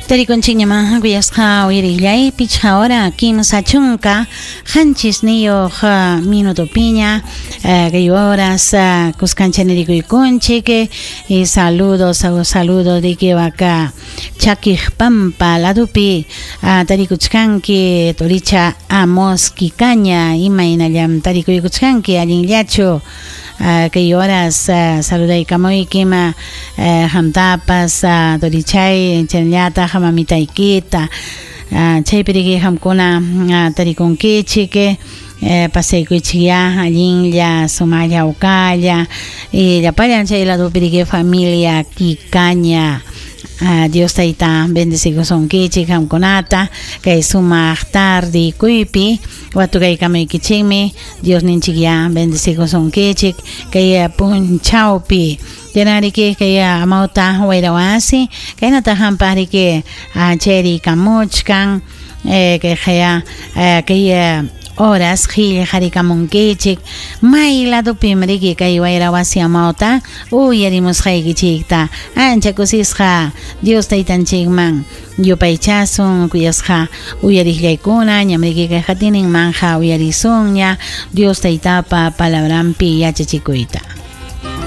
Tarikunchikñamá kuyasqa uyarillay pichqa hora 37 minutopiña kay horas kuskancha nirikuykunchik y saludos saludo de waka chakiq pampa ladupi tarikuchkanki turicha Amos Kikaña imaynallam tarikuykuchkanki allinllachu kay horas saludaykamuykim qamtapas turichay chaynallataq mamitaykita chaypi riki qamkuna tarikunkichik pasaykuychikyá allinlla sumaqlla hawkalla y llapallan chay ladupi riki familia Kikaña Dios tayta bendecikusunkichik qamkunata kay sumaq tardikuypi watukaykamaykichikmi Dios ninchikyá bendecikusunkichik kay punchawpi Yanariki kay amawta wayrawasi kaynata hampaq riki chayrikamuchkan kay qaya kay horas qillqarikamunkichik may ladupim riki kay wayrawasi amawta uyarimusqaykichikta ancha kusisqa Dios taytanchikman yupaychasun kuyasqa uyariqllaykuna ñam riki kay qatininmanja uyarisunña Dios taytapa palabranpi yachachikuyta.